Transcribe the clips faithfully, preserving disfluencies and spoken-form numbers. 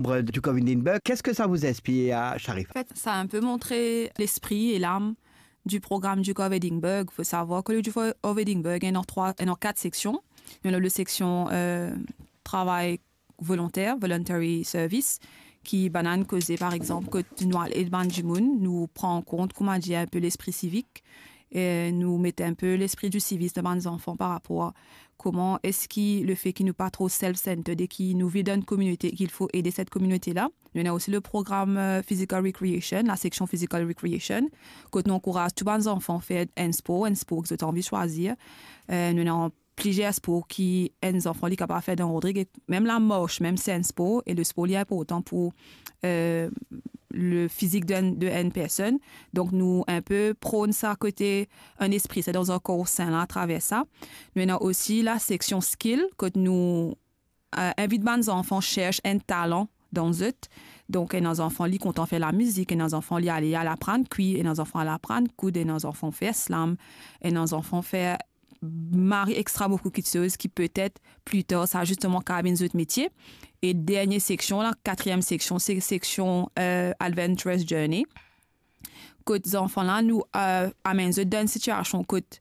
Membre du Duke of Edinburgh, qu'est-ce que ça vous inspire, Sharifa ? En fait, ça a un peu montré l'esprit et l'âme du programme Duke of Edinburgh. Faut savoir que le Duke of Edinburgh est en trois, est en quatre sections. Il y a le section, euh, travail volontaire, voluntary service, ki bann koze, par exemple, kot nou al ed bann dimoun, nou pran kont, kouma dir, un peu l'esprit civique, e nou met un peu l'esprit du civisme dan bann zanfan par rapport à comment est-ce que le fait ki nou pa tro self-centered e ki nou viv dan enn kominote, qu'il faut aider cette communauté-là. Nou ena osi le programme, euh, physical recreation, la section physical recreation, kot nou ankouraz tou bann zanfan fer enn spor, enn spor ki zot anvi swazir. Euh, nou ena plizier spor ki enn zanfan li kapav fer dan Rodrig, e mem lamars, mem si enn spor, e le spor li inportan pou, euh, le fizik de enn, de enn personn. Donk nou inpe pran sa kote enn espri, se dan enn kor sin la atraver sa. Nou ena osi la seksion skill, kot nou, euh, invit bann zanfan sers enn talan dan zot. Donk, ena zanfan li kontan fer lamizik, ena zanfan li ale al aprann kwi, ena zanfan al aprann koud, ena zanfan fer slam, ena zanfan fer mari extra boukou kitsoz ki petet pli tar sa zisteman kapav vinn zot metie. E dernie seksion la, katriem seksion, se seksion, euh, Adventurous Journey. Kot zanfan la, nou, euh, amenn zot dan enn sitiasion kot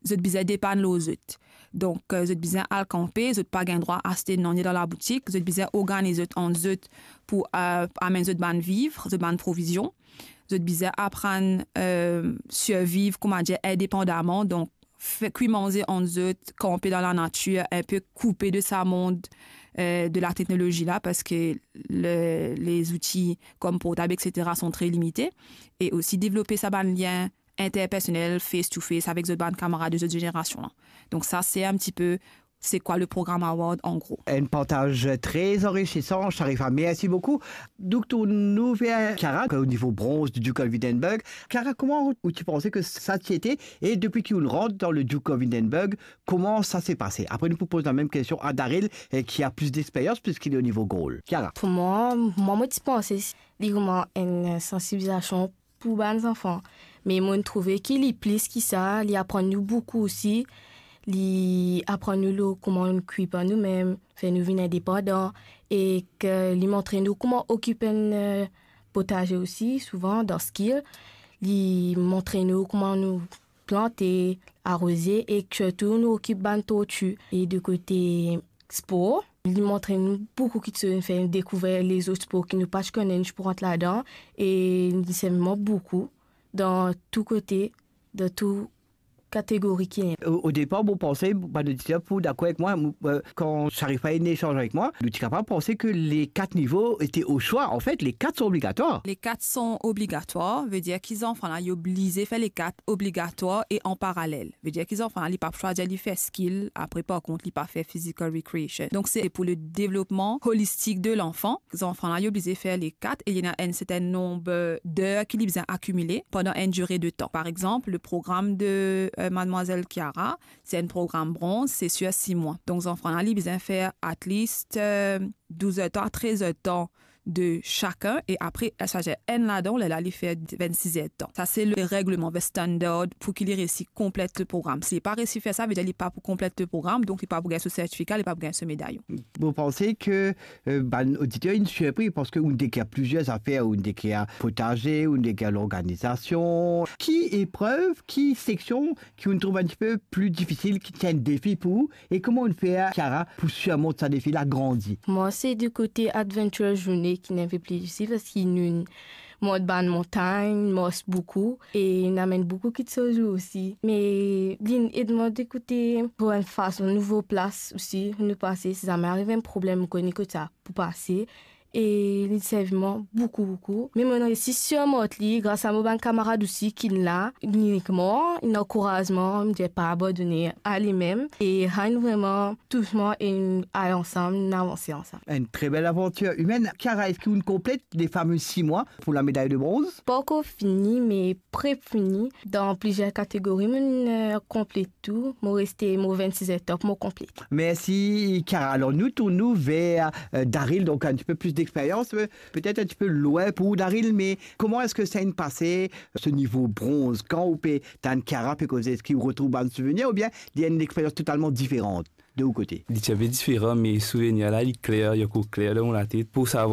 zot bizin depann lor zot. Donk, euh, zot bizin al kanpe, zot pa gagn drwa aste nanye dan laboutik, zot bizin organiz zot ant zot pou, euh, amenn zot bann viv, zot bann provizion. Zot bizin aprann, euh, sirviv, kouma dir, indepandaman. Donk, fer kwi manze ant zot, kanpe dan lanatir, inpe koupe de sa mond, euh, de la teknolozi la, parski le, les outils comme portable, et cetera, sont très limités. E osi devlop sa bann lien interpersonel, face to face, avek zot bann kamarad de zot zenerasion la. Donk sa, se enn ti pe se kwa le program Award, an gro. Enn partaz tre anrisisan, Sharifa, mersi boukou. Donk, tourn nou ver Kiara, o nivo bronz du Duke of Edinburgh. Kiara, kouma ou ti panse ke sa ti ete, e depi ki ou rant dan le Duke of Edinburgh, kouma sa se pase? Apre, nou pou poz la mem kestion a Daryl, eh, ki a plis dexperyans, piski li o nivo gold. Kiara. Pou mwa, mwa, mo ti panse li kouma enn sansibilizasion pou bann zanfan. Me mo trouve ki li plis ki sa, li aprann nou boukou osi. Li aprann nou lor kouma nou okip nou mem, fer nou vinn indepandan, e ke li montre nou kouma okip enn, euh, potaze osi, souvan dan skill. Li montre nou kouma nou plante, aroze, e sirtou nou okip bann torti. E de kote spor, li montre nou boukou kitsoz, fer nou dekouver lezot spor ki nou pa ti kone, nou ti pou rant ladan, e li servi mwa boukou dan tou kote, dan tou kategori ki ena. O, o depar, mo panse, bann oditer pou dakor avek mwa, mo, euh, kan Sharifa inn esanz avek mwa, nou ti kapav panse ke le kat nivo ete o swa. An fet, le kat son obligatwar. Le kat son obligatwar, vedir ki zanfan la, li oblize fer le kat obligatwar e an paralel. Vedir ki zanfan la, li pa pou swazir li fer skill, apre par kont, li pa fer physical recreation. Donk, se pou le devlopman holistik de lanfan. Zanfan la, li oblize fer le kat e li ena enn sertin nonb d'er ki li bizin akimile pandan enn dire de tan. Par exanp, le program de, euh, Mademoiselle Kiara, se enn program bronz, se sir sis mwa. Donk, zanfan la, li bizin fer at least, euh, douz er tan a trez er tan de sakenn, e apre, sa fer enn ladan, lerla li fer vennsis er tan. Sa se le regleman, the standard, pou ki li resi konplet le program. Si li pa resi fer sa, vedir li pa pou konplet le program, donk li pa pou gagn so sertifika, li pa pou gagn so medayon. Mo panse ke, euh, bann oditer inn sirpri, parski ou dekrir plizier zafer, ou dekrir potaze, ou dekrir lorganizasion. Ki eprev, ki seksion ki ou trouv enn ti pe pli difisil, ki ti enn defi pou ou, e kouma ou fer, Kiara, pou sirmont sa defi la, grandi? Mwa, se du kote Adventurous Journey ki enn pe pli difisil, parski nou mont bann montagn, mars boukou, e nou amenn boukou kitsoz osi. Me li ed mwa de kote pou enn fason nouvo plas osi, nou pase, si zame ariv enn problem, mo kone kot sa pou pase. E li servi mwa boukou, boukou. Me mo resi sirmont li gras a mo bann kamarad osi ki la, li nek mwa, li ankouraz mwa, li dir pa abandone a limem. E sa inn vreman tous mwa e nou al ansam, nou avanse ansam. Enn tre bel avantir imenn. Kiara, eski ou konplet le fame sis mwa pou la meday de bronz? Pankor fini, me pre fini. Dan plizier kategori, mo, euh, konplet tou. Mo reste, mo vennsis etap, mo konplet. Mersi, Kiara. Alor, nou tourn nou ver, euh, Daryl, donk enn ti pe plis dexperyans, euh, petet enn ti pe lwin pou ou, Daryl, me kouma eski sa inn pase, se nivo bronz? Kan ou pe tann Kiara pe koze, eski ou retrouv bann souvenir oubien li enn experyans totalman diferan? de ou kote. Li ti inpe diferan, me souvenir la, li kler, li ankor kler dan mo latet. Pou savoir